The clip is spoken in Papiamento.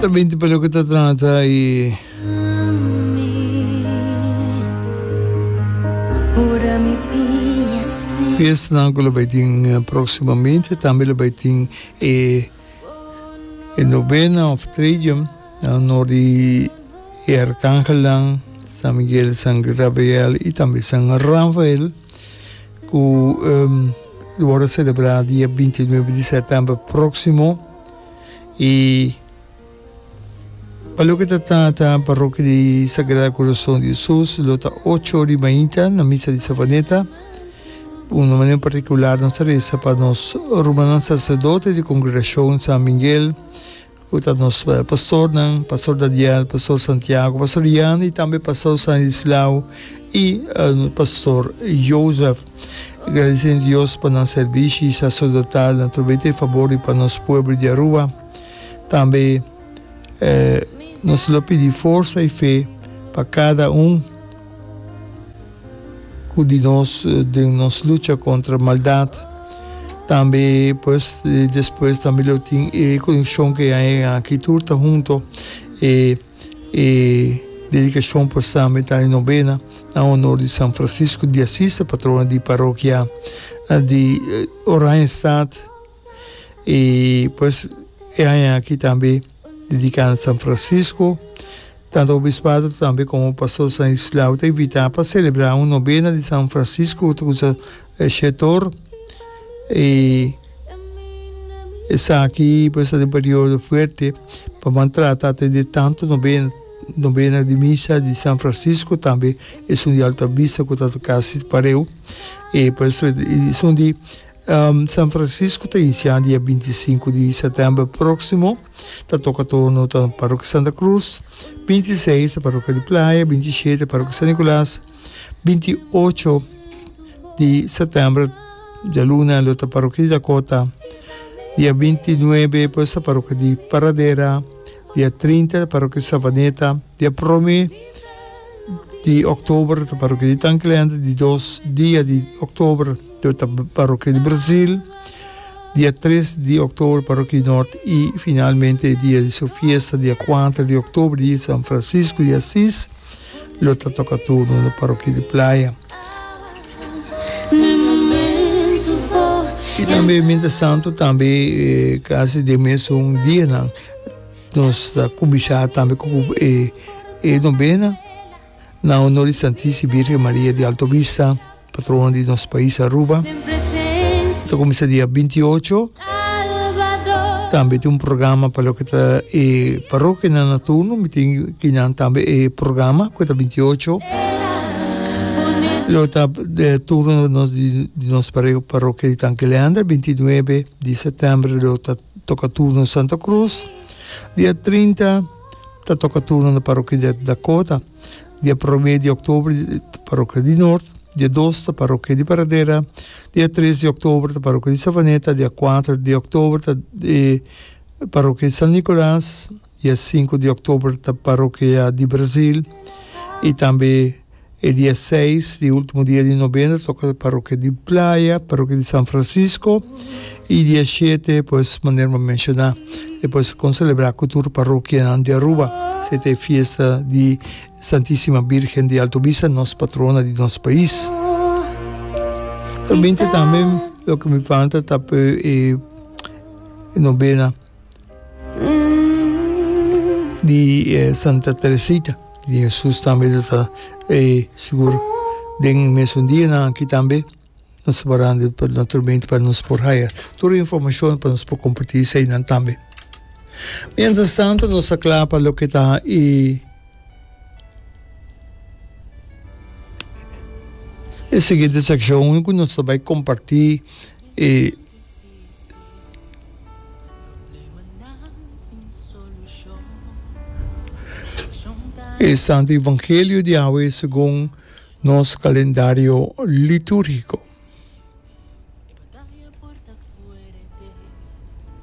Ta binti pa loke ta trata e fiestanan ku lo bai tin próksimamente. Tambe lo bai tin e novena òf tridium na honor di e arkangelnan San Miguel, San Gabriel i tambe San Rafael ku lo wòrdu selebrá dia bintinuebe di sètèmber próksimo. I pa loke ta trata Parokia di Sagrado Corazon di Jesus lo ta ocho ora di mainta na misa di Savaneta. Un manera partikular nos ta resa pa nos rumannan saserdote di Kongregashon San Miguel ku ta nos pastornan, Pastor Daniel, Pastor Santiago, Pastor Jan i tambe Pastor Stanislao i Pastor Joseph. Gradiciendo Dios pa nan servishi sacerdotal naturalmente e fabor di pa nos pueblo di Aruba. Tambe nos lo pidi forsa y fe pa cada un cu di nos den nos lucha contra maldad. Tambe pues despues tambe lo tin e conexion cu e aña aki tur ta hunto e E dedikashon por sa meta e nobena na honor di San Francisco di Asis, patrono di parokia di Oranjestad. I pues e aña aki tambe dediká na San Francisco. Tanto obispado tambe komo pastor Stanislao ta invitá pa selebrá un nobena di San Francisco ku ta kusa shetor. I esaki pues ta den periodo fuerte pa ban trata atende tanto nobena, nobena di misa di San Francisco tambe esun di Alta Vista ku ta kasi pareu i pues esun di San Francisco ta inisiá dia 25 di sètèmber próksimo ta toka turno ta Parokia Santa Cruz, 26 ta Parokia di Playa, 27 Parokia San Nicolas. 28 di sètèmber djaluna lo ta parokia di Dakota, dia 29 pues ta parokia di Paradera, dia 30 ta parokia di Savaneta, dia prome di òktober ta parokia di Tanklende, di dos dia di òktober lo ta parokia di Brazil, dia tres di òktober parokia di Nort i finalmente e dia di su fiesta dia kuater di òktober di San Francisco di Asis. Lo ta toca turno na parokia di Playa. Y tambe mientras tanto tambe casi den mesun dianan nos ta cuminsa tambe cu e novena na honor di Santisima Virgen Maria di Alto Vista. Patrona di nos pais Aruba. Ta cuminsa dia 28. Tambe tin un programa pa loke ta e parokianan na turno. Mi tin kinan tambe e programa cu ta 28. Lo ta turno nos di nos parokia di Tanki Leander. 29 di september lo ta toca turno Santa Cruz. Dia 30 ta toca turno na parokia di Dakota. Dia promé di òktober ta parokia di Noord, dia dos ta parokia di Paradera, dia tres di òktober ta parokia di Savaneta, dia kuater di òktober ta e parokia di San Nicolas, dia sinku di òktober ta parokia di Brazil i tambe e dia seis di ultimo dia di nobena toka parokia di Playa, parokia di San Francisco i dia shete pues manera mi a menshoná. E por con celebra cu tur parokianan di Aruba. Esey ta e fiesta di Santisima Birgen di Alto Vista, nos patrona di nos pais. Ta binti tambe loke mi falta ta e novena di Santa Teresita di Jesus tambe lo ta sigur den mesun dianan aki tambe. Nos ta baranda naturalmente pa nos por haya tur e informacion pa nos por comparti eseinan tambe. Mientras tanto nos ta cla pa loke ta e e siguiente seccion cu nos ta bay comparti e e Santo Evangelio di awe segun nos calendario liturgico.